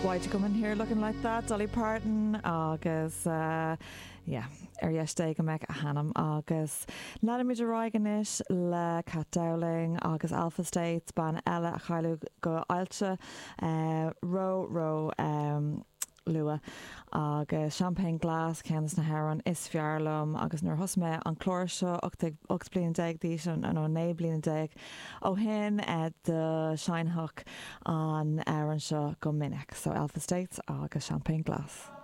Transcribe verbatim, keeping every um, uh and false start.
Why'd you come in here looking like that Dolly Parton agus uh, yeah, ar dheis Dé go mbeidh a hanam agus leanaimid ar aghaidh anois le Kat Dowling agus Alpha States bean eile a cailleadh go ailse uh, ró ró um, luath agus Champagne Glass ceann de na hamhráin is fearr liom agus nuair thosaigh mé an clár seo ocht bliana déag d'aois nó naoi bliana déag ó shin do sheinnfeadh an amhrán seo go minic, so Alpha States agus Champagne Glass.